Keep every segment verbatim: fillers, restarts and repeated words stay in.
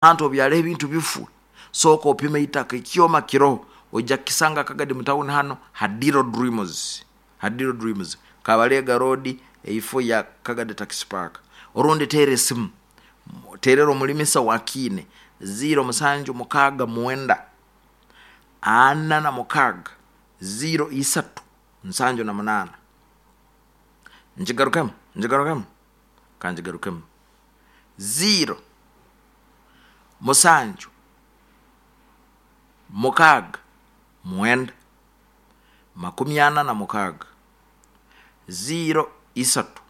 Hantu obyara ebintu bifu, sooka opime itaka, ekyoma kiroho, ojja kukisanga Kagadi mu tawuni hano Hadiro Dreams, Hadiro Dreams, Kabalega Road, eifo ya Kagadi Taxi Park. Orundi teera esimu, terera omulimisa wa Kiine ziro musanju mukaaga mwenda ana na mukaaga ziro isatu nsanju na munaana. Nkigarukemu, nkigarukemu, kankigarukemu, ziro musanju mukaaga mwenda makumi ana na mukaaga ziro isatu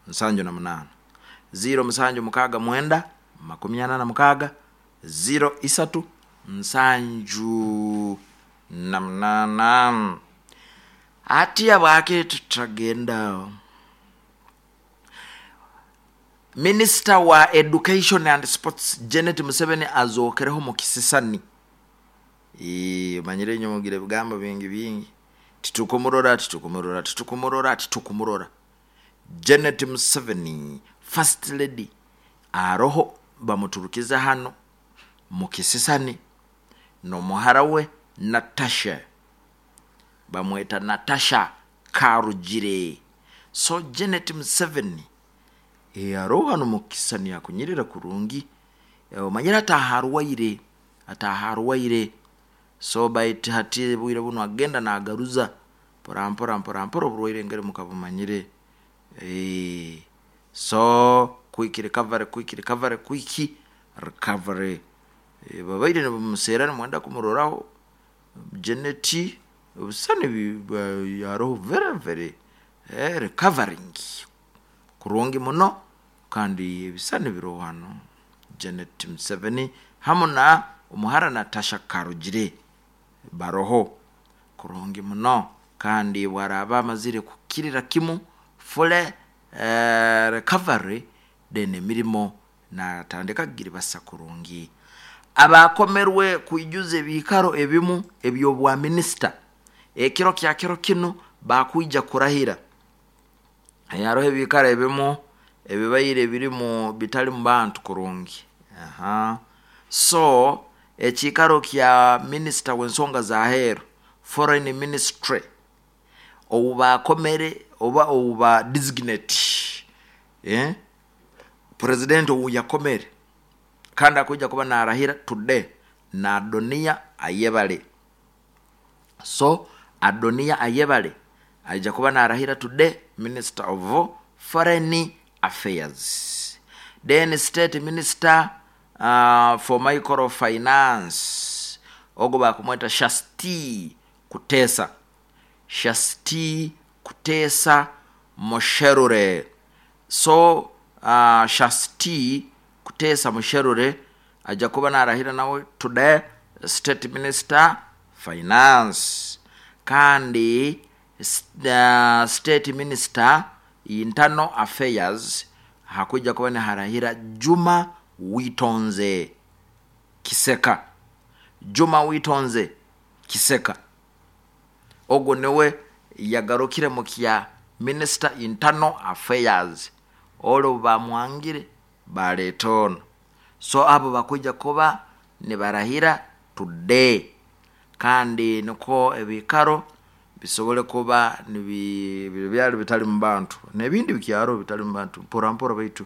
nsanju na munaana, ziro musanju mukaaga mwenda makumi ana na mukaaga ziro isatu nsanju na munaana. Hati habwaki tutagenda? Minisita wa Education and Sports Janet Museveni azookereho mu kisisani. Manyire inywe mugira ebigambo bingi bingi, titukumurora, titukumurora, titukumurora, titukumurora. Janet Museveni, First Lady, aroho bamuturukize hano mu kisisani n'omuhara we Natasha, bamweta Natasha Karugire. So Janet Museveni aroho hano mu kisisani akunyirira kurungi, omanyire ataaha arwaire, ataaha arwaire. So baitu hati obwire bunu agenda naagaruza mpora mpora mpora mpora, oburwaire engeri mukabumanyire. So quick recovery, quick recovery, quick recovery. Babaire nibamuseera nimwenda kumuroraho Janet, ebisisani aroho very very recovering kurungi muno, kandi ebisisani biroho hanu Janet Museveni hamu na omuhara Natasha Karugire baroho kurungi muno. Kandi obu araaba amazire kukirra kimu full recovery, then emirimo naatandika kugiribasa kurungi. Abaakomerwe kwijuza ebiikaro ebimu eby'obwa minisita, ekiro kya kiro kinu bakwija kurahira. Haroho ebiikaro ebimu ebibaire birimu bitalimu bantu kurungi. So ekiikaro kya minisita w'ensonga z'aheeru, foreign ministry, ou baakomere oba ou ba designate, president ou yakomere kandi akwija kuba naarahira today, na Adoniya Ayebare. So Adoniya Ayebare aija kuba naarahira today, Minister of Foreign Affairs. Then State Minister uh, for Microfinance, ogu bakumweta Shasti Kutesa, Shasti Kutesa Musherure. So uh, Shasti Kutesa Musherure aja kuba naarahira nawe today, State Minister Finance. Kandi uh, State Minister Internal Affairs hakuja kuba niharahira Juma Witonze Kiseka, Juma Witonze Kiseka, ogu niwe yagarukire mu kya Minister Internal Affairs, oli obu bamwangire baleeta onu. So abo bakwija kuba nibarahira today, kandi nikwo ebiikaro bisobole kuba byali bitalimu bantu, n'ebindi bikyaro bitalimu bantu, mpora mpora baitu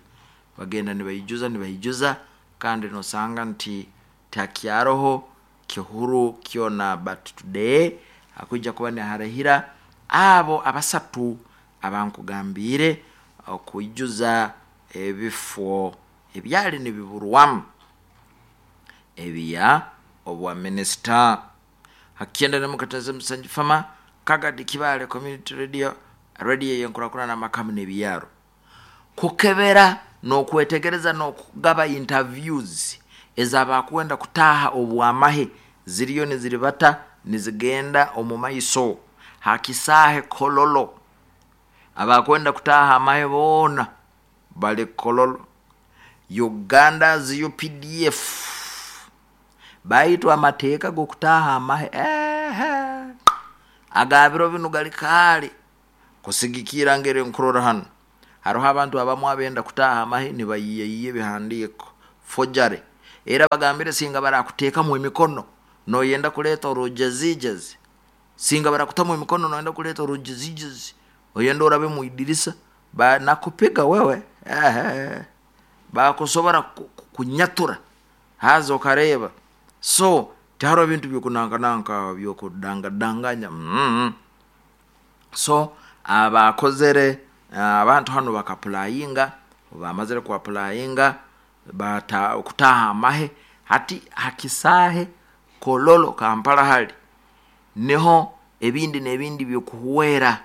bagenda nibaijuza nibaijuza, kandi nosanga nti tihakyaroho kihuru kyona. But today hakwija kuba niharahira abo abasatu abankugambiire okwijuza ebifo ebyali nibiburwamu ebya obwa minisita. Hakyenda nemukataza Musanju Fama, Kagadi Kibaale Community Radio, radio ey'enkurakurana amakamu n'ebiyaro. Kukebera n'okwetegereza n'okugaba interviews ez'abakwenda kutaaha obwamahe ziriyo niziribata nizigenda omu maiso hakisaahe Kololo. Abakwenda kutaaha amahe boona bali Kololo. Uganda's U P D F baitu amateeka g'okutaaha amahe ehe agabiro binu gali kaali kusigikira ngeri nkurora hano. Haroho abantu abamu abenda kutaaha amahe nibayiyayiya ebihandiiko forgery. Era bagambire singa barakuteekamu emikono noyenda kuleeta orujezijezi, singa barakutamu emikono noyenda kuleeta orujezijezi, oyenda orabe mu idirisa banakupiga wewe, ehe, bakusobora kunyatura haza okareeba. So tihariho ebintu byokunankananka byokudangadanganya mm. So abakozere abantu hanu bakapurayinga, bamazire kuapurayinga bata kutaha amahe hati hakisaahe Kololo Kampala hali niho ebindi n'ebindi byokuhwera.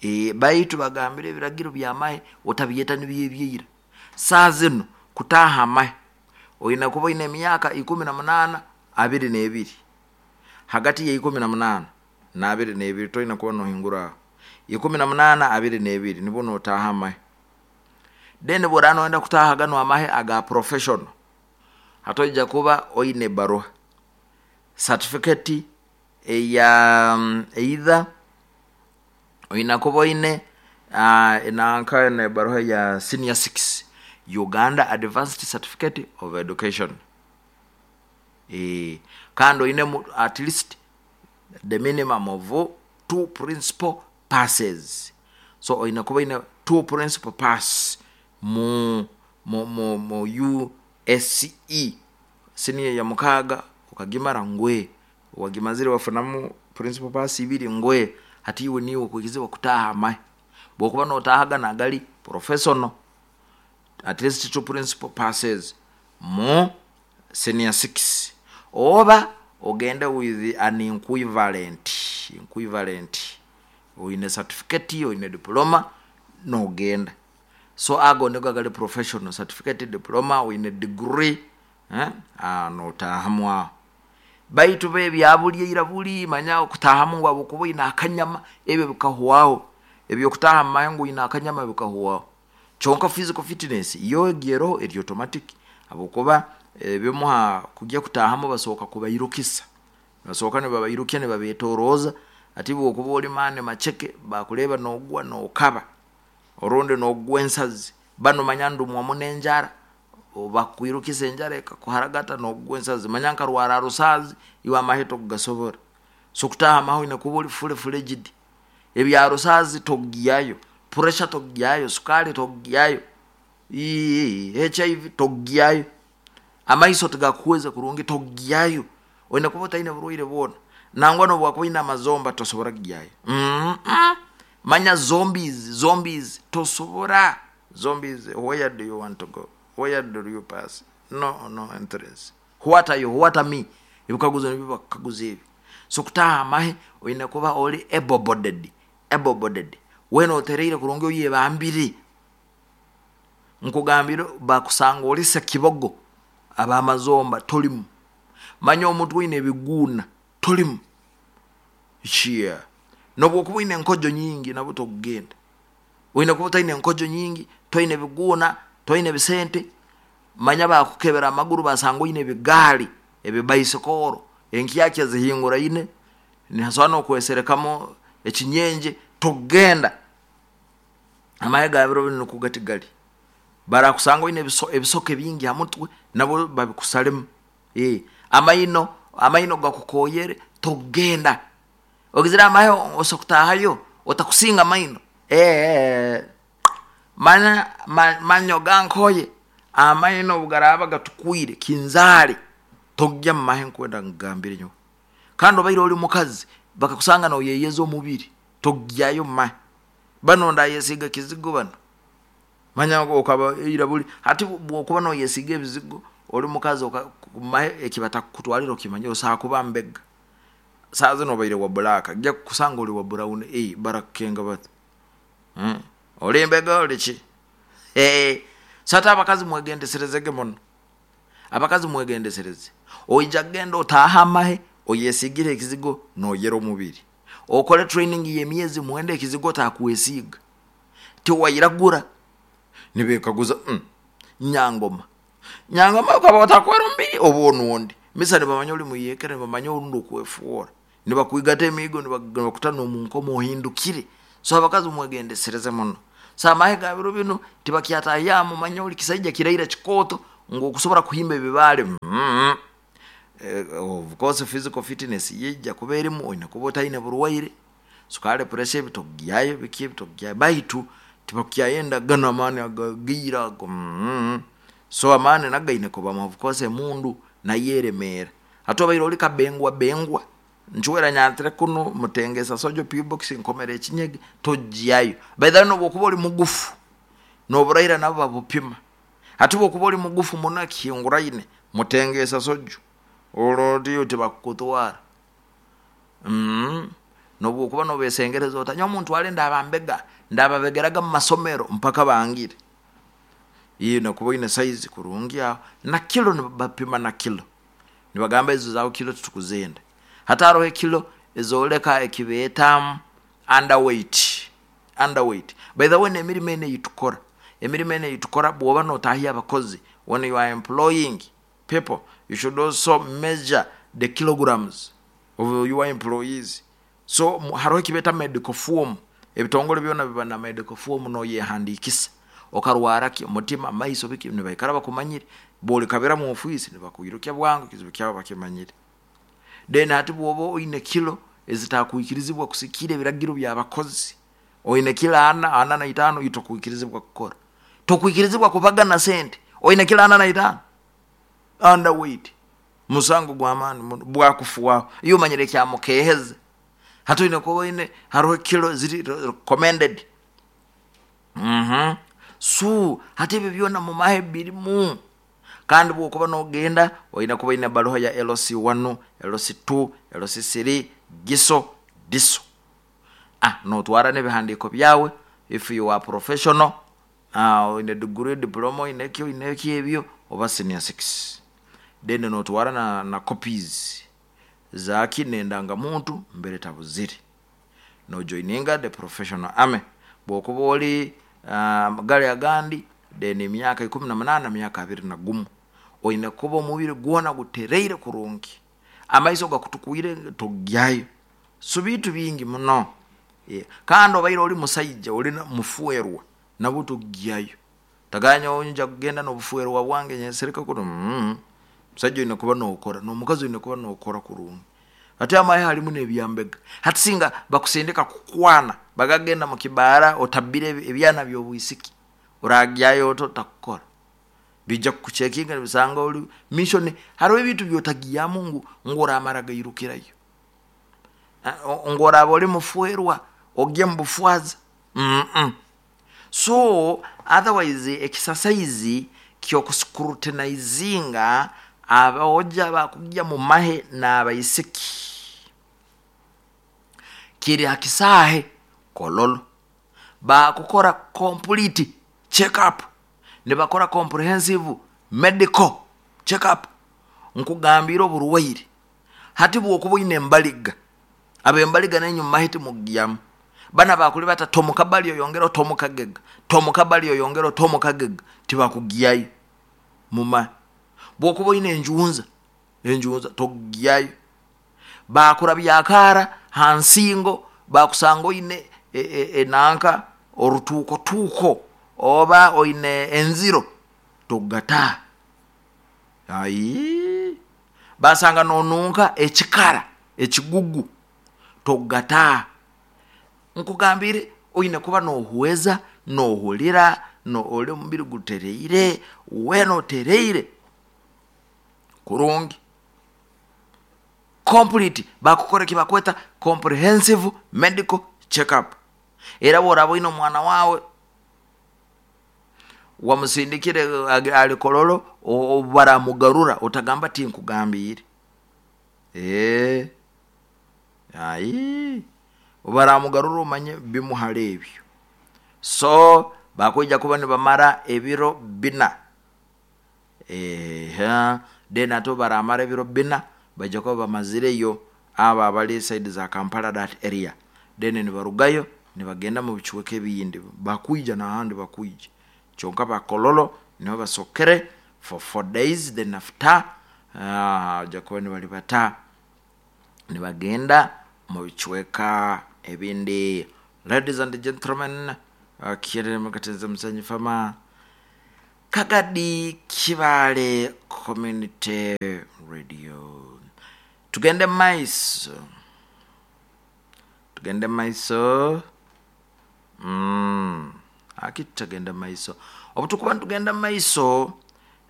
E, baitu bagambire ebiragiro by'amahe otabyeta nibyo ebyaira. Saaha zinu kutaaha amahe oine kuba oine emyaka ikumi na munaana abiri n'ebiri, hagati ya ikumi na munaana n'abiri n'ebiri toine kuba nohingura aho, ikumi na munaana abiri n'ebiri nibwo notaaha amahe. Then obu oraaba noyenda kutaaha ganu amahe aga professional, hati oija kuba oine ebaruha certificate eya either oine kuba oine uh, nanka nebaruha ya senior six Uganda Advanced Certificate of Education, e, kandi oinemu at least the minimum of two principal passes. So oine kuba oine two principal pass mu mu mu, mu U S E senior ya mukaaga okagimara ngwe wagimazire wafunamu principal pass ibiri ngwe, hati iwe niiwe okwikirizibwa kutaaha amahe. Bwokuba notaaha ganu agali professional, at least two principal passes mu senior six, oba ogende with an equivalent, equivalent oine certificate, oine diploma nogenda. So ago nigo agali professional, certificate, diploma, oine degree, eh, ah, notaahamu aho. Baitu bo ebyabuli eira buli manya okutaahamu ngu habwokuba oine akanyama, ebyo bikahwaho. Ebyokutaaha mu mahe ngu oine akanyama bikahwaho. Kyonka physical fitness yo egi eroho eri automatic, habwokuba ebimuha kujya kutaahamu basooka kubairukisa, basooka nibabairukya nibabetorooza. Hati bwokuba oli maani maceke bakureeba nogwa nokaba orundi nogwa ensazi, banu manya ndumwamu n'enjara, bakwirukisa enjara ekakuharagata nogwa ensazi, manya nkarwara rusaazi iwe amahe tokugasobora. So kutaaha amahe oine kuba ori fully fledged, ebya rusaazi togyayo, pressure togyayo, sukaari togyayo, H I V togyayo, amaiso tigakuhweza kurungi togyayo, oine kuba otaine burwaire bwona, nangwa nobu wakuba oine amazomba tosobora kugyayo. Mm -mm. Manya zombies, zombies tosobora, zombies where do you want to go, where do you pass, no no entrance, what are you, what are me, ebikaguzo nibyo bakukaguza ebi. So kutaaha amahe oine kuba ori able bodied, able bodied, weena otereire kurungi oyebambire, nkugambire bakusanga ori sekibogo abamazomba tolimu, manya omutwe oine ebiguuna tolimu, chia nobwokuba oine enkojo nyingi nabwo tokugenda. Oine kuba otaine enkojo nyingi, toine biguuna, toine bisente, manya bakukebera amaguru basanga oine ebigaari ebibaisikoro enkyakya zihinguraine nihasobora n'okweserekamu ekinyenje tokugenda. Amahe ga biro binu nukwo gati gali, barakusanga oine ebisoke bingi ha mutwe nabwo babikusalemu. E, amaino amaino gakukoyere tokugenda. Ogizire amahe osobola kutaahayo otakusinga amaino, e, manya manyo gankoye, amaino obu garaaba gatukwire kinzaali tokugya mu mahe nkwenda nkugambire nyowe. Kandi obaire ori mukazi bakakusanga noyeyeza omubiri tokugyayo mu mahe, banu ndayesiga kizigo banu, manya okaba ira buli hati bwokuba noyesiga ebizigo ori mukazi mahe ekibatakukutwalira okimanyire osobola kuba mbega, saaha zinu obaire wa black, gya kukusanga ori wa brown, eh, barakukenga bata, hmm? Ori mbega ori ki? Eh, so hati abakazi mwegendeserezege muno, abakazi mwegendesereze, oija kugenda otaaha amahe oyesigire ekizigo noyera omubiri, okole training y'emyezi mwenda ekizigo otakwesiga, tiwairagura, nibekaguza mm, nyangoma nyangoma okaba otakwera omubiri oba onundi, misa nibamanya ori muyekera, nibamanya orundi okwefoora, nibakwigata emiigo nibakuta n'omunkomo ohindukire. So abakazi mwegendesereze muno. So amahe ga biro binu tibakyatahyamu manya ori kisaija kiraira kikooto Ngu okusobora kuhimba ebibaale, mm -hmm. Of course physical fitness yijja kuba erimu, oine kuba otaine burwaire, sukali, pressure, ebitogyayo biki ebitogyayo, baitu tibakukyayenda ganu amaani agagaira ago. mm -hmm. So amaani nago gaine kubamu. Of course emundu nayo eremeera. Hati obaire oli kabengwa bengwa, nchwera nyantire kunu mutengesa sojo P-box nkomera ekinyege, tojyayo. By the way, nobwokuba oli mugufu noburaira nabo babupima. Hati bwokuba oli mugufu muno ekihinguraine mutengesa sojo olwo tibakukutwara. mm. Nobwokuba nobesengereza ota, nyowe muntwale ndabambega, ndababegeraga mu masomero mpaka bangire. Iyo nokuba oine size kurungi aho na kilo nibapima, na kilo nibagamba ezo zawe kilo titukuzenda. Hati haroho ekilo ezoleka ekibeeta underweight. Underweight, by the way, n'emirimo eno eyitukora, emirimo eno eyitukora, bwoba notahya abakozi, when you are employing people, you should also measure the kilograms of your employees. So haroho ekibeeta medical form, ebitongole byona biba na medical form, noyehandikisa okarwara ki, omutima, amaiso, biki, nibaikara bakumanyire. Bwolikabira mu ofiisi nibakwirukya bwangu, ekizibu kyawe bakimanyire. Then hati bwoba oine kilo ezitakwikirizibwa kusikira ebiragiro by'abakozi, oine kilo ana, ana na itaano, tokwikirizibwa kukora, tokwikirizibwa kubagana sente oine kilo ana na itaano. Underweight musango gw'amaani muno bwakufuaho. Iyo omanyire ekyamukeheze. Hati oine kuba oine, haroho kilo ziri recommended. mm -hmm. So hati ebyo byona mumahe birimu. Kandi bwokuba nogenda oine kuba oine baruha ya L C one, L C two, L C three, giso diso. Ah, notwara n'ebihandiiko byawe if you are professional, uh, oine degree, diploma, oine eki, oine eki, ebyo oba senior six. Then notwara na, na copies zaki n'endangamuntu mbere tabuzire, nojoininga the professional army. Bwokuba oli uh, gali agandi, then emyaka ikumi na munaana, myaka abiri na gumu, oine kuba omubiri gwona gutereire kurungi, amaiso gakutukwire, togyayo. So bintu bingi muno. Yeah. Kandi obaire oli musaija oli mufuerwa, nabwo togyayo. Taganya nja kugenda n'obufuerwa bwange nyesereka kuno. mm. Musajja oine kuba nokora, n'omukazi oine kuba nokora kurungi. Hati amahe halimu n'ebyambega. Hati singa bakusindika kukwana, bagagenda mu kibaara otabire ebyana by'obwisiki, oragyayo ota otakukora? Bijja kukucekinga nibisanga oli mission. Hariho ebintu byotagyamu ngu ngu oramara gairukirayo ngu oraba oli mufuerwa ogye mu bufwaza. mm -mm. So otherwise exercise kyokuscrutinizinga abaoja bakugya mu mahe n'abaisiki kiri ha kisaahe Kololo. Bakukora complete check up, nibakora comprehensive medical check up. Nkugambire oburwaire, hati bwokuba oine embaliga, abembaliga nenyu mumahe timugyamu. Bana bakuli bata tomukabali oyongera tomukagega, tomukabali oyongera tomukagega, tibakugyayo mumahe. Bwokuba oine enjunza, enjunza togyayo. Bakurabya akaara ha nsingo, bakusanga oine enanka orutuuko tuuko oba oine enziro, togataha. Ayi, basanga nonunka ekikara ekigugu, togataha. Nkugambire oine kuba nohweza, nohulira no oli omubiri gutereire, weena otereire kurungi, complete. Bakukora ekibakweta comprehensive medical check up. Era bworaba oine omwana wawe wamusindikire ali Kololo, baramugarura otagamba tinkugambiire. Ee, ayi, baramugarura omanye bimuhara ebyo. So bakwija kuba nibamara ebiro bina. Ehe, then ate baramara ebiro bina, baija kuba bamazireyo abo abali side za Kampala, that area. Then nibarugayo nibagenda mu bicweka ebindi, bakwija n'ahandi bakwija. Kyonka bakololo niho basokere for four days, then after uh, kuba nibali bata nibagenda mu bicweka ebindi. Ladies and gentlemen, uh, kirere mukatenza musanyi fama. Kagadi Kibaale Community Radio. Tugende maiso, tugende maiso. Mm. Aki tutagenda maiso, obu tukuba nitugenda maiso,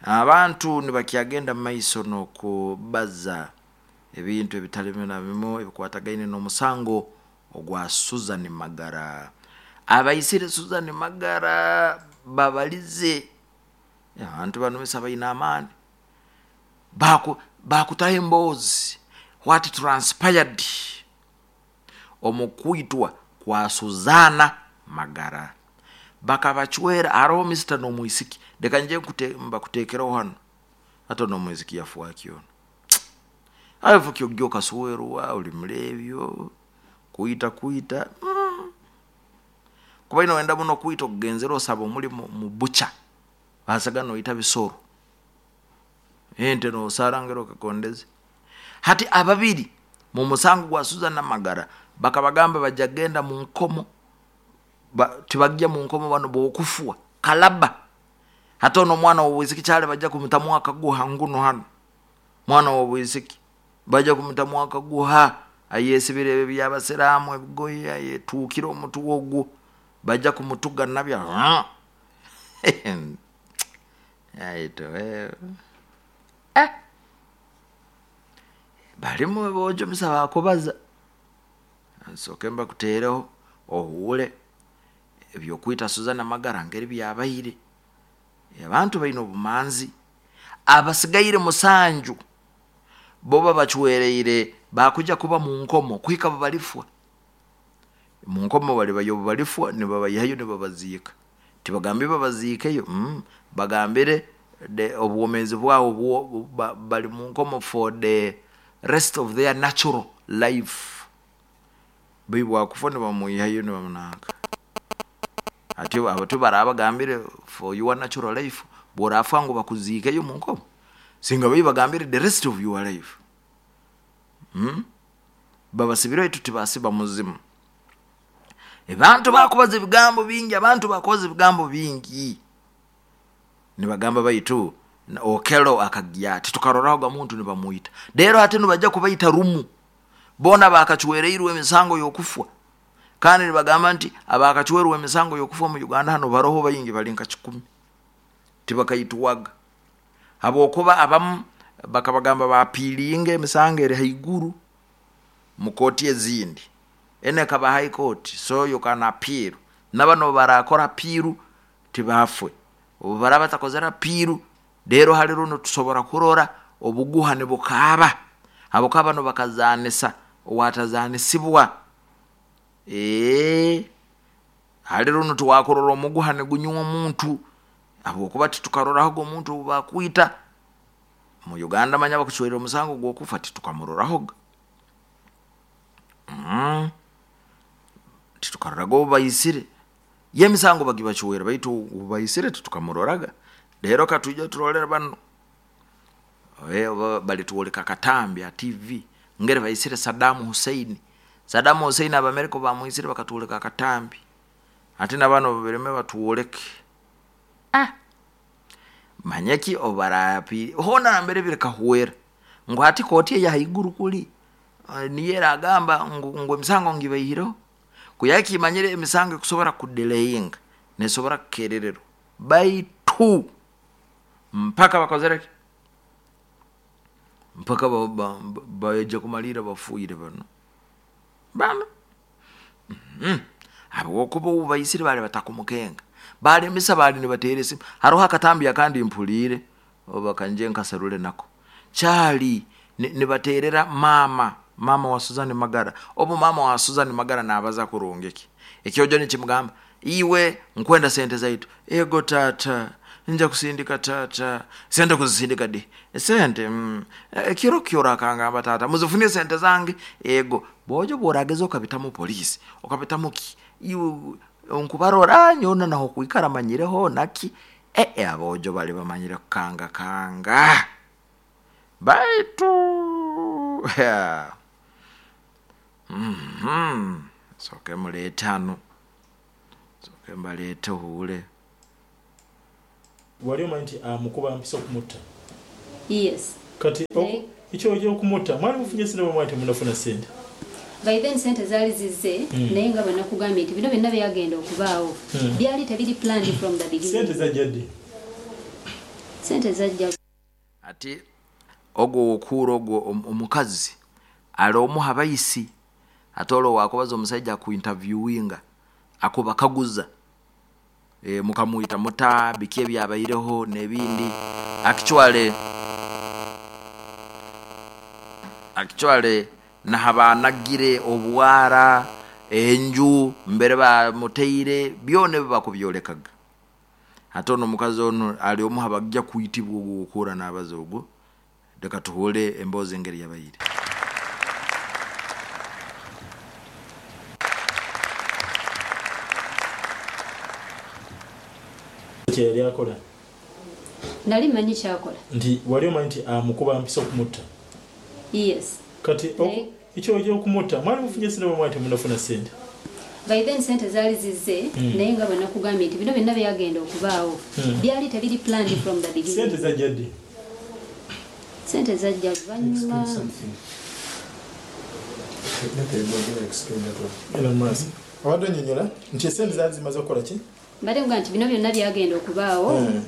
abantu nibakyagenda maiso n'okubaza ebintu ebitali bimu na bimu ebikwatagaine n'omusango ogwa Susan Magara. Abaisire Susan Magara babalize abantu banu misa baine amaani, baku bakutaho emboozi what transpired omu kwitwa kwa Suzana Magara. Bakabacwera haroho misita n'omwisiki, leka nje mbakuteekereho hano hata n'omwisiki yafuaki ono ayo kyogyo okaswerwa oli mulebyo kwita kwita mm. Kuba ino wenda muno kwita okugenzera osaba omulimu mu bucha basaga noita bisoro ente nosarangera okakondeze. Hati ababiri mu musango gwa Suzana Magara bakabagamba bajja genda mu nkomo, ba, tibajja mu nkomo bano bokufwa kalaba. Hati ono omwana w'obwisiki kyale bajja kumutamu akaguha nguno hano, mwana w'obwisiki bajja kumutamu akaguha ayesibire ebyo byabasiraamu ebigoye ayetuukire omutu ogwo bajja kumutuga nabyo aito eh balimu bojo misaba akubaza nsooke mbakuteereho ohuule ebyokwita Suzana Magara ngeri byabaire. Abantu baine obumanzi, abasigaire musanju bo babacwereire bakuja kuba mu nkomo kuhika babalifwa mu nkomo, bali bayo balifwa nibabayihayo nibabaziika, tibagambire babaziikeyo mm, bagambire obwomeezi bwabo bali mu nkomo for the rest of their natural life. Bwakufa nibamuyihayo nibamunanka ati abo barabagambire for your natural life, bworafa ngu bakuziikeyo mu nkomo singa bai bagambire the rest of your life. Mm? Babasibire itu tibasiba muzimu. Abantu bakubaza ebigambo bingi, abantu bakubaza ebigambo bingi nibagamba baitu Okelo akagya titukaroraho ga muntu nibamuita rero ate nibajja kubaita rumu bona bakachwereirwe emisango y'okufwa. Kandi nibagamba nti abakachwerwa emisango y'okufwa mu Uganda hano baroho bayingi bali nka kikumi tibakaitwaga, habwokuba abamu bakabagamba bapiilinge emisango eri haiguru mu kooti ezindi ene kaba high court, so you can appeal. Nabano barakora appeal tibafwe, obu baraba batakozera appeal rero hali runo tusobora kurora obuguha nibukaaba habwokuba bano bakazanisa owatazanisibwa. Ee hali runo tuwakurora omuguha nigunywa omuntu habwokuba titukarorahoga omuntu obu bakwita mu Uganda. Manya bakucwera omusango gw'okufa titukamurorahoga mm. Titukaroraga obu baisire ye emisango bagibacwera baitu obu baisire titukamuroraga. Rero katwija turolera bano balitwoleka katambi a T V ngere baisire Saddam Hussein. Saddam Hussein abamerika bamwisire bakatwoleka akatambi, ate nabano bireme batwoleke ah manyeki obarapi hona nambere birikahwera ngo hati koti ya haiguru kuli niye agamba ngo emisango ngibaihiro kuyaki imanyire emisango kusobora kudelayinga nesobora kukererero baitu mpaka bakozereke mpaka baje kumalira bafuire bano bano mm. Habwokuba ubaisire bali batakumukenga bali misa bali nibatere simu haroho akatambi akandi mpulire oba kanje nkaserule nako chali nibaterera mama mama wa Suzan Magara. Obu mama wa Suzan Magara nabaza kurungeki ekyojo nikimugamba iwe nkwenda sente zaitu. Ego tata nja kusindika tata sente kuzisindika di sente mm. Ekiro kyora akangamba tata muzifunie sente zange. Ego bojo borageza okabitamu polisi okabitamu ki iwe nkubarora nyona naho kuikara manyireho naki eh e, abojo bali bamanyire kanga kanga baitu yeah. Mhm soke muletano soke mbalete hule Wali omanyi nti amukuba mpisa okumutta? Yes. Kati Naye- ekyo okyokumutta mwali mufunye sente oba mwali temunafuna sente? By then sente zaali zizze, naye nga bwe nakugambye nti bino byonna byagenda okubaawo byali tebiri planned from the Sente beginning. zajja ddi? Sente zajja Ati ogwo wokuura ogwo om- omukazi ali omuha bayisi, ate olwo wakubaza omusajja akuinterviewinga, akubakaguza, e, mukamwita muta biki ebyabaireho n'ebindi. Actually, actually nahabanagire obwara enju mbere bamuteire byona ebyo bakubyolekaga. Ate ono omukazi ono ali omuha bajja kuyitibwa ogwo okuura n'abaza ogwo. Leka tuhuule emboozi engeri yabayire. Kyeyali akola? Nali mmanyi kyakola. Nti wali omanyi nti amukuba mpisa okumutta? Yes. Kati Naye- ekyo okyokumutta mwali mufunye sente oba mwali temunafuna sente? By then sente zaali zizze, naye nga bwe nakugambye nti bino byonna byagenda okubaawo byali tebiri planned from the Sente beginning. zajja ddi? Sente zajja luvannyuma. Explain something. Let everybody explain that one. Eno maaso obadde onyonyola nti esente zaali zimaze okukola ki? Mbadde nga nti bino byonna byagenda okubaawo Mm.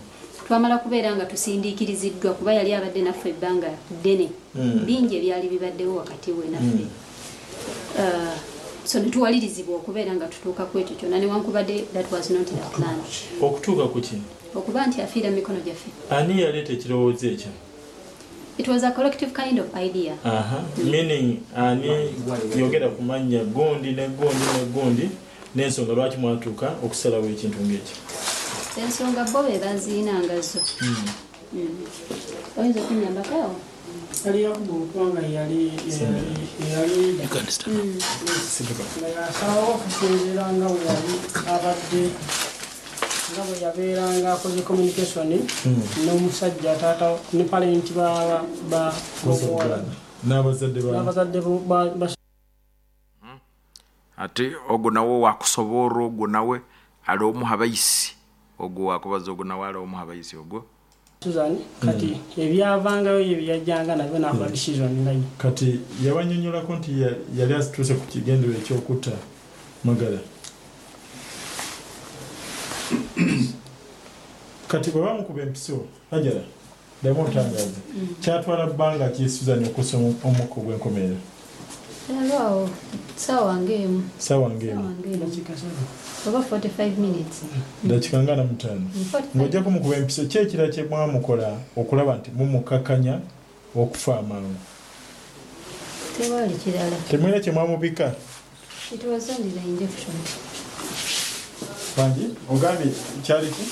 twamala kubeera nga tusindiikiriziddwa, kuba yali abadde naffe ebbanga ddene, Mm. bingi ebyali bibaddewo wakati we naffe. Uh, so ne tuwalirizibwa okubeera nga tutuuka ku ekyo kyonna, newankubadde that was not the plan. Okutuuka ku ki? Okuba nti afiira mu mikono gyaffe. Ani yaleeta ekirowoozo ekyo? It was a collective kind of idea. Aha, meaning ani? Yogera ku mannya, gundi ne gundi ne gundi, n'ensonga lwaki mwatuuka okusalawo ekintu ng'ekyo. Ensonga bo be baziinanga zo. Mm. Oyinza okunyambako awo? Yali Yakubu, okubanga yali yali nga yasalawo okusinziira nga bwe yali abadde, nga bwe yabeeranga akoze communication n'omusajja taata ne parent ba ba b'omuwala. N'abazadde ba N'abazadde bo- ba- ba Ate ogwo nawe wakusoboora, ogwo nawe ali omuha bayisi, ogwo wakubaza ogwo nawe ali omuha bayisi ogwo. Susan. Kati ebyavangayo ye byajjanga nabyo n'akola decision nga ye. Kati yabanyonyolako nti ya- yali atuuse ku kigendero ekyokutta Magala. Kati bwe bamukuba empiso, Hajara, ddamu otangaaze, kyatwala bbanga ki Susan okussa omukka ogw'enkomerero? Yalwawo saawa ng'emu. Saawa ng'emu? Saawa ng'emu. Dakiika satu. Oba forty-five minutes. Dakiika nga na mutaano. Mm, forty-five. Ng'ojja kumukuba empiso, ki ekirala kye mwamukola okulaba nti mumukakanya okufa amangu? Tewaali kirala. Temulina kye mwamubika? It was only the injection. Wangi, ogambye kyali ki?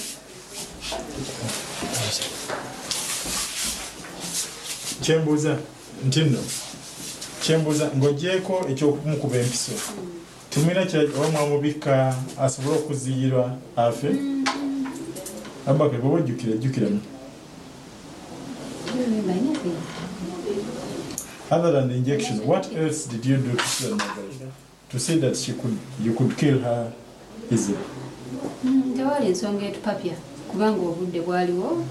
Kyembuuza nti nno, kyembuuza, ng'ogyeko ekyokumukuba empiso, temulina kira oba mwamubikka asobole okuziyirwa afe? Abubakar, bw'oba ojjukira, ejjukiramu. I don't remember anything. Other than the injection, what else did you do to Susan Magara to see that she could, you could kill her easily? Mm, tewali ensonga etupapya, kubanga obudde bwaliwo,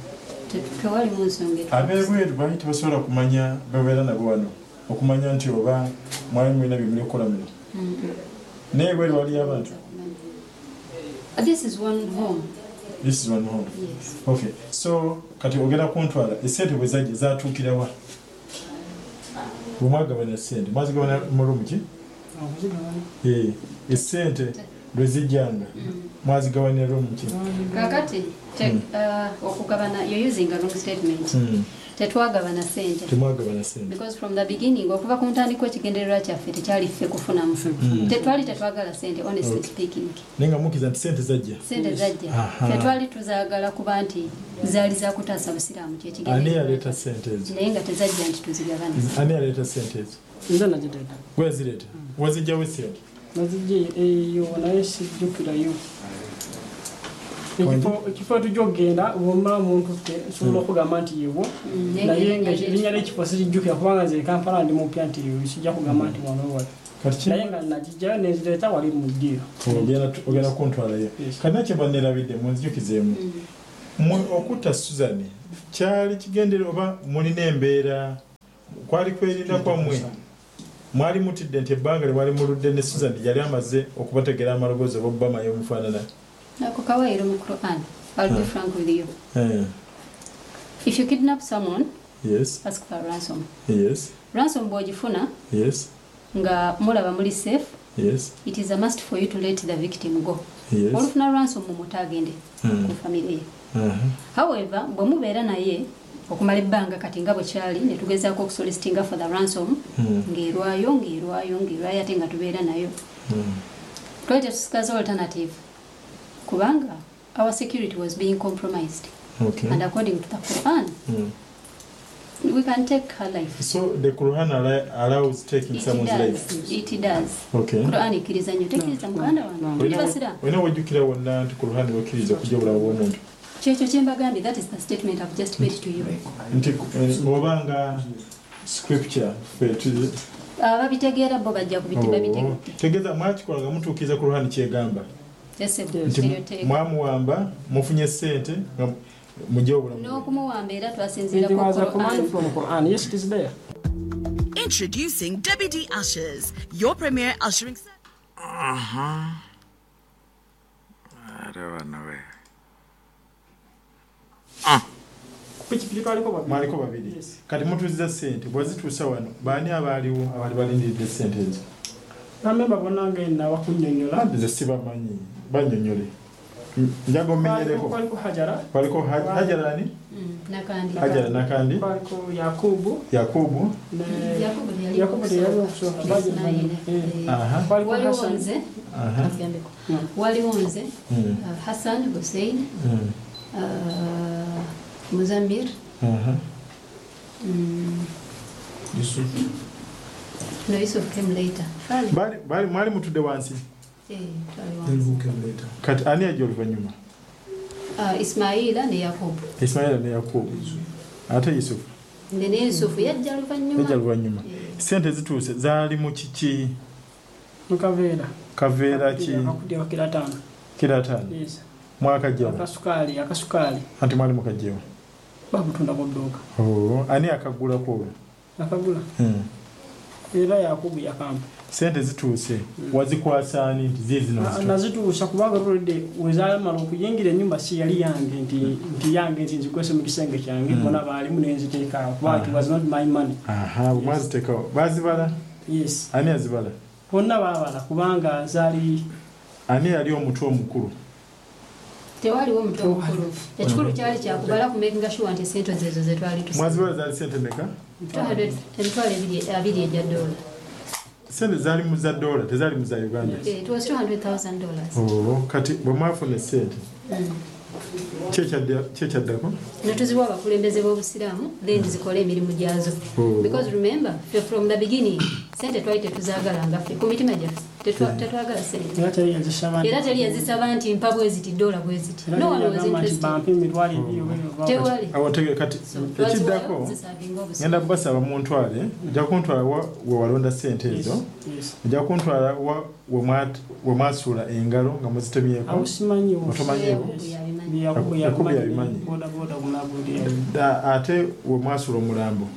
te- tewalimu nsonga etupapya. Ab'ebweru baali tebasobola kumanya, babeera nabo wano, okumanya nti oba mwali mulina bye muli okukola muno? Naye ebweru waliyo abantu? Uh, this is one home. This is one home? Yes. Okay, so kati ogenda kuntwala, esente bwe zajja zatuukirawa? Bwe mwagabana sente, mwazigabana mu room ki? Okuzigabana. Eh, esente lwe zijjanga mwazigabanira room ki? Kakati te, uh, okugabana, you're using a wrong statement. Mm. Tetwagabana sente. Temwagabana sente? Because from the beginning, okuva ku ntandikwa, ekigendererwa kyaffe tekyali ffe kufunamu. Tetwali tetwagala sente, honestly Okay. speaking. Naye nga mukkiriza nti sente zajja? Sente zajja. Aha. Ffe twali tuzaagala kuba nti zaali zakutaasa busiraamu. Ani Kyekigendererwa. yaleeta sente ezo? Naye nga tezajja nti tuzigabana. Ani yaleeta sente ezo? Nze nagireeta. Gwe zireeta? Wazijjawo sente? Nazijja eyo, naye sijjukirayo ekifo. Ekifo tujja okugenda bwomala muntutte, nsobola okugamba nti yewo, naye nga erinnya lyekifo sirijjukira, kubanga nze e Kampala ndi mupya, nti sijja kugamba nti wano wali. Kati Naye nga nagijjayo nenzireeta wali mu ddiiro. ogenda ogenda kuntwalayo. Yes. Kati nakye mba nerabidde, munzijukizeemu. Mwe okutta Susan kyali kigendere oba mulina embeera kwali kwerinda kwammwe mwali mutidde nti ebbanga lye mwali muludde ne Susan yali amaze okubategera amaloboozi oba obbamayo omufaanana. Ako kawairo mu Quran. I'll be frank with you. Eh, If you kidnap someone, yes, ask for a ransom. Yes, Ransom bw'ogifuna yes, nga mulaba muli safe, yes, it is a must for you to let the victim go. Yes. Olufuna ransom mumuta agende Mm. ku family ye. Uh-huh. However, bwe mubeera naye okumala ebbanga kati nga bwe kyali ne tugezaako okusolicitinga for the ransom Mm. ng'erwayo ng'erwayo ng'erwayo ate nga tubeera nayo Mm. twali tetusikaza alternative kubanga our security was being compromised Okay. and according to the Quran Mm. we can take her life. So the Quran allow- allows taking It someone's does. life. It does. Okay. Quran ekkiriza nnyo tekkiriza muganda wange tuli basiraamu. Olina wejjukira wonna nti Quran wekkiriza okujja obulamu bw'omuntu. Kyekyo kye mbagambye, that is the statement I've just made to you. Nti eh, obanga scripture ffe tu- Ababitegeera bo bajja kubiti Oh, babitegedde. tegeeza mwakikola nga mutuukiriza Quran kyegamba. Yes, Nti eryo teeka. mwamuwamba mufunye ssente nga mugye obulamu bwe. N'okumuwamba era twasinziira It ku was a command Quran. from Quran. Yes, it is there. Introducing Debbie D Ushers, your premier ushering service. Ate bano we Pikipiki twaliko babiri. Mwaliko babiri. Yes. Kati mutuuziza ssente bwezituusa wano baani abaaliwo abaali balindiridde ssente ezo? Bamemba bonna nga nnawa kunnyonnyola. Nze sibamanyi bannyonnyole. Njaga omenyereko. Kwaliko Hajara, Kwaliko Haj- Hajara ani? Mm, Nakandi. Hajara Nakandi, kwaliko Yakubu Yakubu, ne Yakubu teyali Yakubu teyali okusooka. Ismail. Eh. aha, Kwaliko Waliwo Hassan. nze, aha. agambeko. Waliwo nze, Mm, uh, Hassan Hussein, mm, uh, Muzamir, aha. mm, no Yusuf came later. Fali. Baali- baali- mwali mutudde wansi Eh, twali wansi. kati ani ajja oluvannyuma? Uh, Ismaila ne Yakubu. Ismaila ne Yakubu ate Yusufu Ne ne Yusufu yajja luvannyuma. yajja luvannyuma. Eh, Sente zituuse zaali mu kiki? Mu kaveera. Kaveera ki? Akakutiya kiro ttaano. Kiro ataano. Yes. Mwakajjawa Akasukaali, akasukaali anti mwali mukajjewa. babutunda ku dduuka. Oh, ani akagulako olwo? Akagula. Hmm. Era Yakubu yakampa. Sente zituuse wazikwasa ani nti ziizino Na- Nazituusa kubanga olwedde wezaamala okuyingira ennyumba si yali yange nti nti yange nti nzikwese mu kisenge kyange bonna baalimu ne nziteekaawo kuba it was not my money. aha bwe mwaziteekawo baazibala? Yes. Ani yazibala? Bonna baabala kubanga zaali Ani yali omutwe omukulu? Tewaliwo omutwe omukulu. Ekikulu kyali kyakubala ku making sure nti sente zezo ze twali tusa. Mwazibala zaali sente meka? Emitwalo ebiri abiri egya dola. Sente zaali mu za dola tezaali mu za Uganda. Eh, It was two hundred thousand dollars. Oh, kati bwe mwafuna esente ki ekyadda- ki ekyaddako? Ne tuziwa abakulembeze b'obusiraamu then zikole emirimu gyazo. Oh. Because remember, ffe from the beginning, sente twali tetuzaagala nga ffe ku mitima gyaffe tetwa- tetwagala sente. era teri yazisaba nti- Era teri yazisaba nti mpa bwe ziti dola bwe ziti. era No teri one was yagamba nti interested. bampe emitwalo ebiri oba oba- Tewali. Awo ntegere kati So, ekiddako twaziwaayo zisavinga obusiraamu. ngenda kubasaba muntwale ojja kuntwala wa we walonda sente Yes, ezo yes. ojja kuntwala wa we mwa- we mwasuula engalo nga muzitemyeko. Awo simanyiwo. Otomanyiiwo? Yakubu yabimanyi. Yakubu Yakubu yabimanyi. yabimanyi. Boda boda gunagundi. Da- ate we mwasuula omulambo.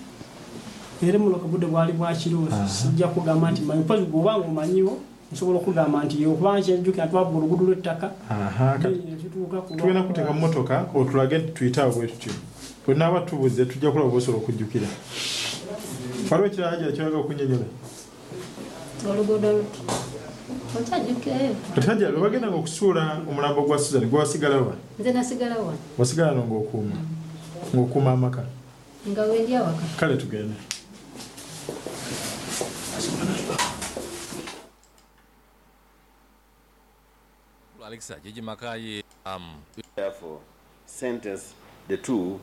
Era muloka budde bwali bwa kiro sijja kugamba nti manyi mpozi bw'oba nga omanyiwo nsobola okugamba nti okuba nkyejjukira twabba oluguudo lw'ettaka Aha, kati ne tutuuka ku tugenda kuteeka mu motoka otulage nti tuyite awo bwe tutyo bwe naaba tubuze tujja kulaba bwosobola okujjukira. Waliwo ekirala Hajara kyoyaga okunnyonnyola? Oluguudo luti. Okyajjukirayo? Kati Hajara lwe bagendanga okusuula omulambo gwa Susan gwe wasigalawa? Nze nasigala wano Wasigala no ng'okuuma ng'okuuma amaka? Nga wendi awaka. Kale tugende. Alexa Jeje Makaye um, Therefore, sentence the two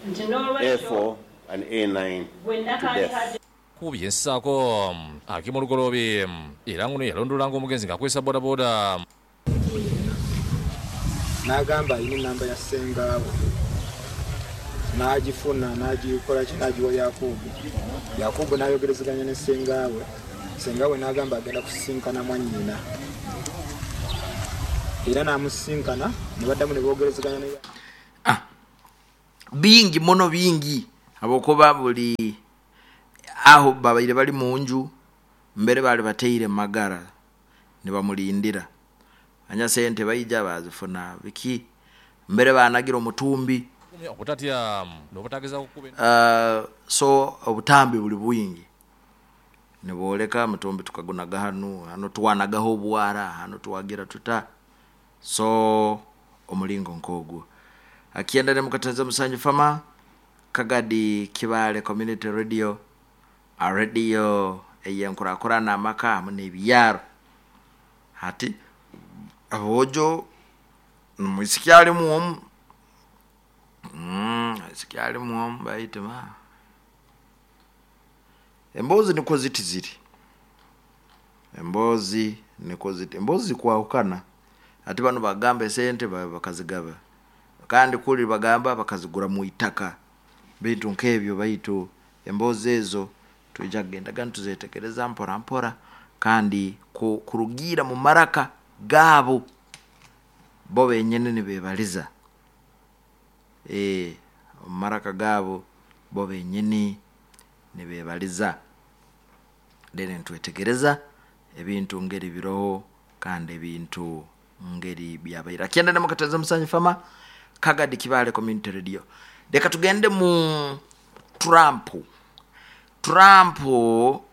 nti n'olwekyo A four and A nine gwe to Nakandi death. Hajara kubye ensaako um, Akimu Lugoloobi um, era nguno yalondolanga omugenzi ng'akozesa bodaboda. N'agamba alina enamba ya ssengaawe n'agifuna n'agikola ki n'agiwa Yakubu. Yakubu n'ayogerezeganya ne ssengaawe, ssengaawe n'agamba agenda kusisinkana mwannyina era n'amusisinkana ne baddamu ne boogerezeganya ne Bingi muno bingi habwokuba buli aho babaire bali munju mbere bali bateire magara nibamulindira anya sente baija bazifuna biki mbere banagira omutumbi obutatya n'obutageza kukuba uh, so obutambi buli bwingi niboleka mutumbi tukagunaga hanu hano tuwanagaho obwara hano tuwagira tuta so omulingo nkogwo akienda ne mukataza musanju fama Kagadi Kibale Community Radio a radio eyenkurakurana amaka hamwe n'ebyaro hati abojo mwisiki ali muomu mm isiki ali muomu baitima embozi niko ziti ziri embozi niko ziti embozi kwahukana ati bano bagamba esente bakazigaba kandi kuli bagamba bakazigura mu itaka bintu nkebyo baitu embozi ezo tuija kugendaga nituzetegereza mpora mpora kandi kurugira mu maraka gabo bo benyene nibebaliza eh maraka gabo bo benyene nibebaliza dene ntwetegereza ebintu ngeri biroho kandi ebintu ngeri byabaira kienda na mukataza musanyu fama Kagadi Kibale Community Radio. Deka tugende mu Trump. Trump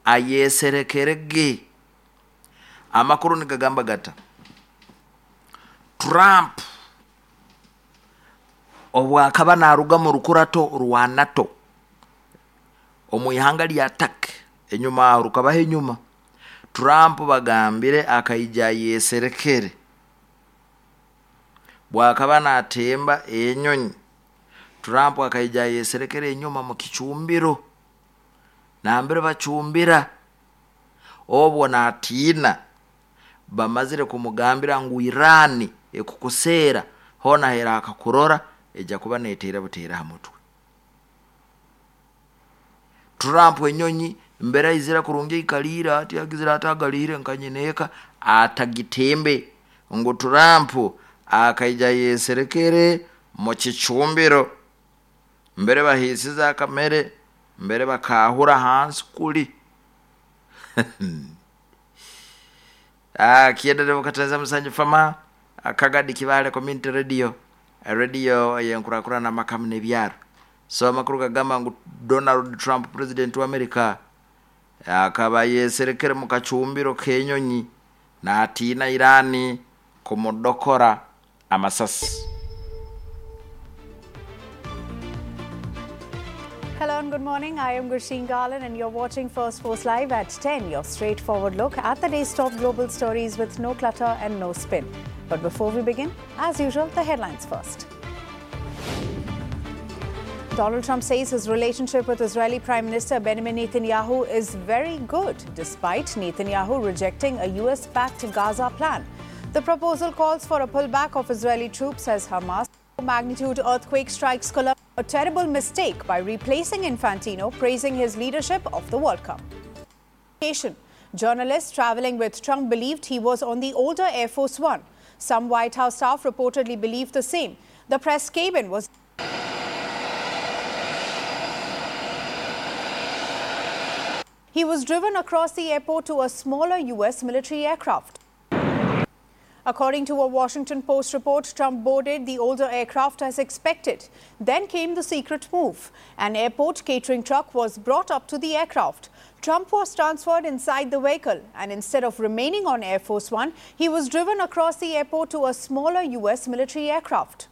ayeserekerege amakuru nigagamba gata Trump obwakaba naruga mu rukurato rwa NATO omwihanga lya Turkey enyuma rukabaho enyuma Trump bagambire akaija yeserekere bwakaba natemba enyonyi Trump akaija yeserekere enyuma mu kichumbiro nambere bachumbira obwo natina bamazire kumugambira ngu Irani ekukusera hona hera akakurora eja kuba netera butera hamutwe Trump enyonyi mbera izira kurungi ikalira ati agizira atagalire nkanyineka atagitembe ngo Trump akaija yeserekere mu kichumbiro mbere bahisiza kamere mbere bakahura hansi kuli ah kiendele mukataza musanju fama Kagadi Kibale Community Radio radio yenkurakura na makamu nebyaro so amakuru kagamba ngu Donald Trump president wa America akaba yeserekere mu kachumbiro kenyonyi na atina Irani kumudokora amasasi. Hello and good morning. I am Gursheen Garland and you're watching First Post Live at ten, your straightforward look at the day's top global stories with no clutter and no spin. But before we begin, as usual, the headlines first. Donald Trump says his relationship with Israeli Prime Minister Benjamin Netanyahu is very good, despite Netanyahu rejecting a U S-backed Gaza plan. The proposal calls for a pullback of Israeli troops as Hamas magnitude earthquake strikes Colombia. A terrible mistake by replacing Infantino, praising his leadership of the World Cup. Journalists traveling with Trump believed he was on the older Air Force One. Some White House staff reportedly believed the same. The press cabin was He was driven across the airport to a smaller U S military aircraft. According to a Washington Post report, Trump boarded the older aircraft as expected. Then came the secret move. An airport catering truck was brought up to the aircraft. Trump was transferred inside the vehicle, and instead of remaining on Air Force One, he was driven across the airport to a smaller U S military aircraft.